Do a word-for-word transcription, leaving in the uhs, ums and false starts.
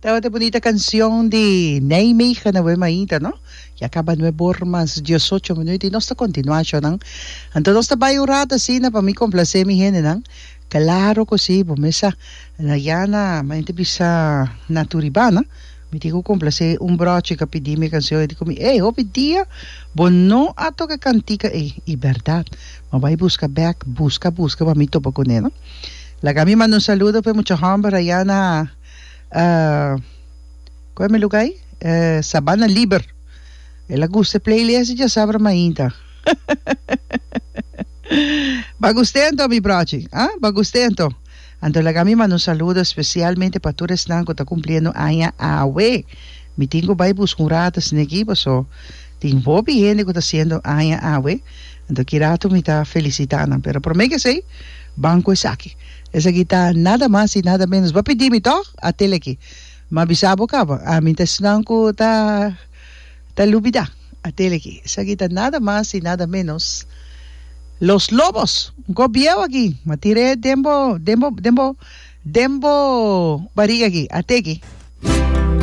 Tabata bunita cancion di Nijmegen awe mainta, no? Ya caba nuebe or mas diesocho minuut y nos ta continua shonan. Anto nos ta bay un rato asina pa mi complace mi hendenan. Claro cu si, bo mes sa. Na ya na, mi ta bisa na Turibana, mi tin cu complace un brochi cu a pidi mi e cancion y di cu mi, ey, hopi dia bo no a toca e cantica ey. Y berdad, mi a bay busca bek, busca, busca pa mi topa cune, no? Laga mi manda un saludo pa e mucha homber aya na Koe mi luga ei? Sabana Liber. El a gusta e playlist di djasabra mainta. Ba gust'é anto mi brochi, ah? Ba gust'é anto? Anto laga mi manda un saludo especialmente pa tur esnan ku ta kumpliendo aña awe. Mi tin ku bai buska un rato asina aki paso tin hopi hende ku ta hasiendo aña awe. Anto ki rato mi ta felicita nan. Pero prome ke esei, ban ku esaki. Esaki ta nada mas y nada menos. Bo a pidi mi tog? A tele aki. M'a bisa bo caba. Ami ta esnan cu ta ta lubida. A tele aki. Esaki ta nada mas y nada menos Los Lobos. Un cop bieu aki. M'a tir'é den bo den bo den bo den bo bariga aki. A te aki.